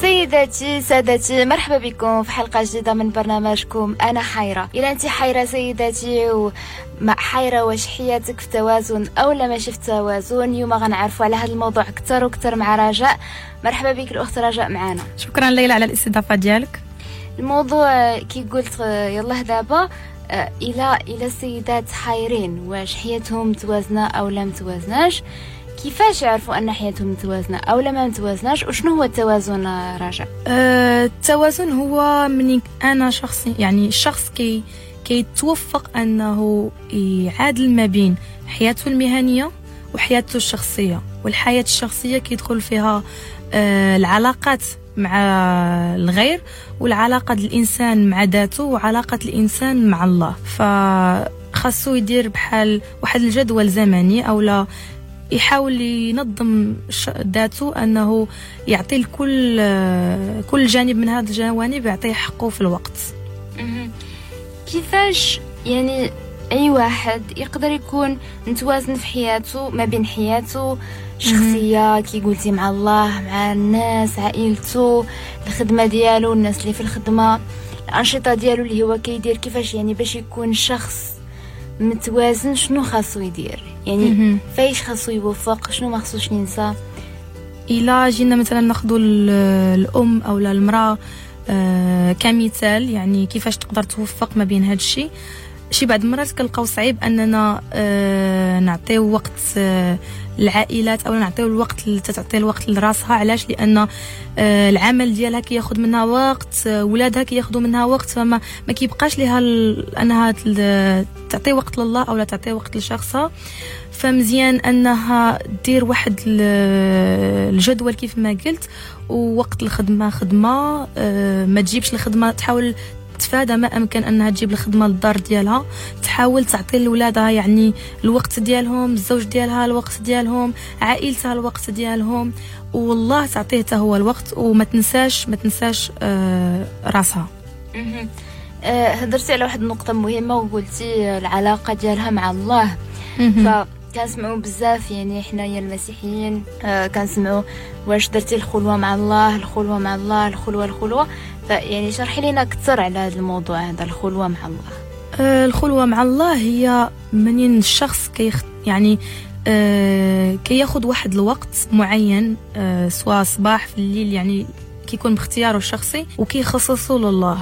سيداتي سادتي، مرحبا بكم في حلقة جديدة من برنامجكم أنا حيرة. إلا أنت حيرة سيداتي وما حيرة واش حياتك في توازن أو لا ماشي في توازن، اليوم غنعرفوا على هذا الموضوع أكثر وأكثر مع رجاء. مرحبا بك الأخت رجاء معنا. شكرا ليلى على الاستضافة ديالك. الموضوع كي قلت يلا دابا إلى السيدات حيرين واش حياتهم متوازنة أو لا متوازناش، كيفاش يعرفوا أن حياتهم متوازنة أو لا ما متوازناش، وشنو هو التوازن رجاء؟ التوازن هو من أنا شخصي، يعني الشخص كيتوفق أنه يعادل ما بين حياته المهنية وحياته الشخصية، والحياة الشخصية كيدخل فيها العلاقات مع الغير، والعلاقة الإنسان مع ذاته، وعلاقة الإنسان مع الله. فخاصو يدير بحال واحد الجدول زمني أو لا يحاول ينظم ذاته، أنه يعطي لكل كل جانب من هذه الجوانب يعطيه حقه في الوقت. كيفاش يعني أي واحد يقدر يكون متوازن في حياته ما بين حياته الشخصية كي قلتي مع الله، مع الناس، عائلته، الخدمة ديالو، الناس اللي في الخدمة، الأنشطة ديالو اللي هو كيدير، كيفاش يعني باش يكون شخص متوازن شنو خاصو يدير؟ يعني فايش خاصو يوفق، شنو ما خاصوش ينسى؟ إلا جينا مثلا ناخذ الأم أو المرأة كمثال، يعني كيفاش تقدر توفق ما بين هذا الشيء. شي بعض المرات كنلقاو صعيب اننا نعطيو وقت العائلات او نعطيو الوقت تعطي الوقت لراسها. علاش؟ لان العمل ديالها كياخذ منها وقت، ولادها كياخذوا منها وقت، فما ما كيبقاش ليها انها تعطي وقت لله او لا تعطي وقت لشخصها. فمزيان انها دير واحد الجدول كيف ما قلت، ووقت الخدمة خدمة، ما تجيبش الخدمة، تحاول تفادى ما امكن انها تجيب الخدمة للدار ديالها، تحاول تعطي لولادها يعني الوقت ديالهم، الزوج ديالها الوقت ديالهم، عائلتها الوقت ديالهم، والله تعطيه حتى هو الوقت، وما تنساش ما تنساش راسها. هضرتي على واحد النقطة مهمة وقلتي العلاقة ديالها مع الله. فكنسمعوا بزاف يعني حنايا المسيحيين كنسمعوا واش درتي الخلوة مع الله، الخلوة مع الله، الخلوة الخلوة. فيعني شرحي لنا اكثر على هذا الموضوع هذا، الخلوة مع الله. الخلوة مع الله هي منين الشخص يعني كياخذ واحد الوقت معين، سواء صباح في الليل، يعني كيكون باختياره الشخصي وكيخصصه لله.